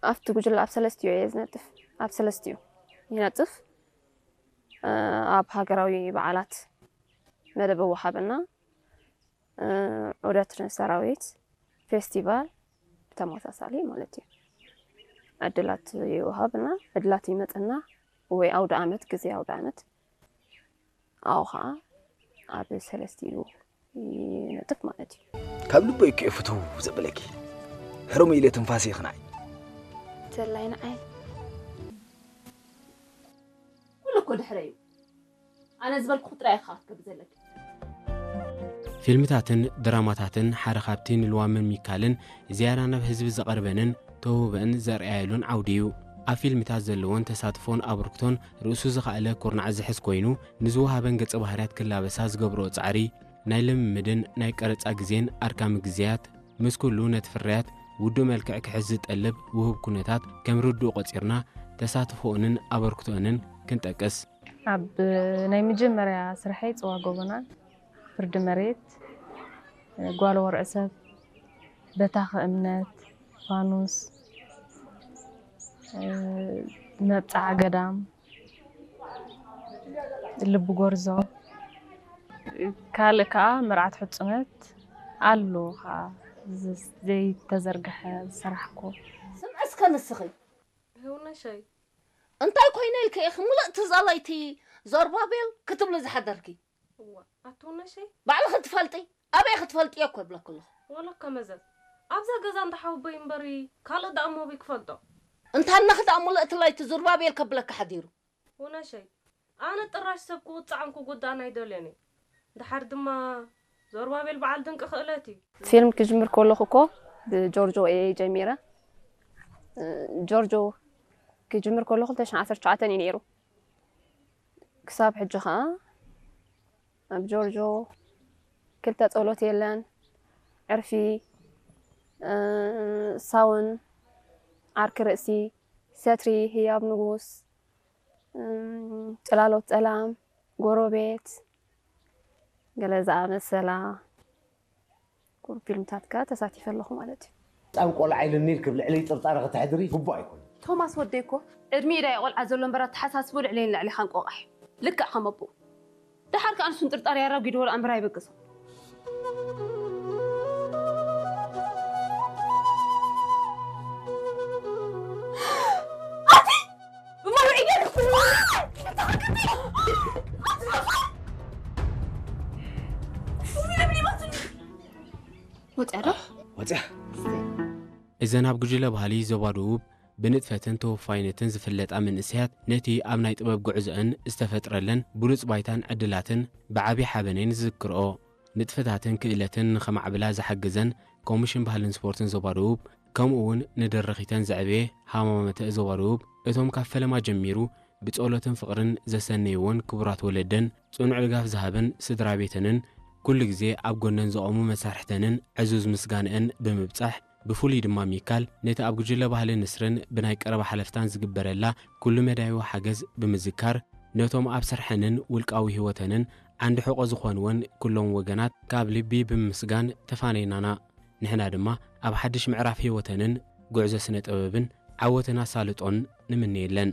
ኣብቲ ጉጅለ ኣብ ሰለስቲኡ እየ ዝነጥፍ። ኣብ ሰለስቲኡ ይነጥፍ። ኣብ ሃገራዊ በዓላት መደብ ወሃብና፣ ዑደት ሰራዊት፣ ፌስቲቫል ብተመሳሳሊ ማለት እዩ። ዕድላት ይወሃብና፣ ዕድላት ይመፅና ወይ ኣውደ ዓመት፣ ግዜ ኣውደ ዓመት ኣብኡ ከዓ ኣብ ሰለስቲኡ ይነጥፍ ማለት እዩ። ካብ ልበይ እኮ ፍትው ዘበለኪ ሕሩም ኢለ ትንፋሰ ይኽናይ ተላይ ንዓይ ኩሉ እኮ ድሕረ እዩ ኣነ ዝበልኩ ጥራይ ኢኻ ክትገብር ዘለኪ ፊልምታትን ድራማታትን ሓደ ካብቲ ንልዋምን ሚካልን ዝያዳ ናብ ህዝቢ ዘቐርበንን ተውህበን ዘርኣያሉን ዓውዲ እዩ። ኣብ ፊልምታት ዘለወን ተሳትፎን ኣበርክቶን ርእሱ ዝኸኣለ ኩርናዕ ዝሕዝ ኮይኑ፣ ንዝወሃበን ገጸ ባህርያት ክላበሳ ዝገብርኦ ጻዕሪ፣ ናይ ልምምድን ናይ ቀረጻ ግዜን ኣድካሚ ግዜያት፣ ምስ ኩሉ ነቲ ፍርያት ውዱእ መልክዕ ክሕዝ ዝጠልብ ውሁብ ኩነታት ከም ርዱእ ቆጺርና፣ ተሳትፎኦንን ኣበርክቶኦንን ክንጠቅስ። ኣብ ናይ መጀመርያ ስርሐይ ጽዋ ጎቦና፣ ፍርዲ መሬት፣ ጓል ወርዒ ሰብ፣ በታኺ እምነት፣ ፋኑስ፣ መብጽዓ ገዳም፣ ልቢ ጎርዞ፣ ካልእ ከኣ መርዓት ሕጹነት ኣሎ ከኣ ዘይተዘርግሐ ዝሰራሕኩ። ስምዒ እስከ ንስኺ ህውነሸይ እንታይ ኮይነ ኢልኪ ኢኺ ምሉእ ትዛባይቲ ዞርባቤል ክትብሊ ዝሓደርኪ? እዋ ኣትውነሸይ ባዕልኺ ትፈልጢ ኣበይ ክትፈልጥዮ እኮ ይብለኪ ኣለኹ። ወለካ መዘዝ ኣብዛ ገዛ እንዳ ሓወቦይ እምበሪ ካልእ ደኣ እሞ ኣበይ ክፈልጦ? እንታነኺ ደኣ ምሉእ እቲ ላይቲ ዙርባቤል ከብለኪ ሓዲሩ። ውነሸይ ኣነ ጥራሽ ሰብ ክውጻዕን ክጉዳእን ኣይደልዮን እየ። ደሓር ድማ ዞርባቤል በዓል ድንቂ ክእለት እዩ። ፊልም ክጅምር ከለኹ እኮ ብጆርጆ እየ ጀሚረ። ጆርጆ ክጅምር ከለኹ ክልተ ሽሕን ዓሰርተ ትሽዓተን እዩ ነይሩ። ክሳብ ሕጂ ኸዓ ኣብ ጆርጆ ክልተ ጸሎት የለን፣ ዕርፊ፣ ሳውን፣ ዓርኪ ርእሲ፣ ሰትሪ፣ ህያብ ንጉስ፣ ጽላሎት ጸላም፣ ጎረቤት፣ ገለ ዝኣመሰላ ፊልምታት ከኣ ተሳቲፈ ኣለኹ ማለት እዩ። ጻም ቆልዓ ኢልኒ ኢልኪ ኣብ ልዕለይ ጥርጣረ ከተሕድሪ ግቡእ ኣይኮነን። ቶማስ ወደይ እኮ ዕድሚኡ ዳኣ ቆልዓ ዘሎ እምበር ኣተሓሳስብኡ ልዕለይን ልዕሌኻን ቆቓሕ እዩ። ልክዕ ከም ኣቦኡ። ደሓር ከኣ ንሱ ንጥርጣረ ኣራጒድዎ ደኣ እምበር ኣይበገሶን። ወፅያ ዶ? ወፅያ። እዘን ኣብ ጉጅለ ባህሊ ዞባ ደቡብ ብንጥፈትን ተወፋይነትን ዝፍለጣ መንእሰያት ነቲ ኣብ ናይ ጥበብ ጉዕዞአን ዝተፈጥረለን ብሉጽ ባይታን ዕድላትን ብዓቢ ሓበን እየን ዝዝክርኦ። ንጥፈታትን ክእለትን ንኸማዕብላ ዝሓገዘን ኮሚሽን ባህልን ስፖርትን ዞባ ደቡብ ከምኡ እውን ንደረኺተን ዘዕበየ ሃማመተ ዞባ ደቡብ እቶም ካብ ፈለማ ጀሚሩ ብጸሎትን ፍቕርን ዘሰነይወን ክቡራት ወለደን፣ ጽኑዕ ድጋፍ ዝሃበን ስድራ ቤተንን፣ ኩሉ ግዜ ኣብ ጎነን ዝቖሙ መሳርሕተንን ዕዙዝ ምስጋንአን ብምብጻሕ፣ ብፍሉይ ድማ ሚካል ነቲ ኣብ ጉጅለ ባህሊ ንስርን ብናይ ቀረባ ሓለፍታን ዝግበረላ ኩሉ መዳይዊ ሓገዝ ብምዝካር፣ ነቶም ኣብ ስርሐንን ውልቃዊ ህይወተንን ዓንዲ ሕቖ ዝኾንወን ኩሎም ወገናት ካብ ልቢ ብምምስጋን ተፋነይናና። ንሕና ድማ ኣብ ሓድሽ ምዕራፍ ህይወተንን ጉዕዞ ስነ ጥበብን ዓወትን ኣሳልጦን ንምነየለን።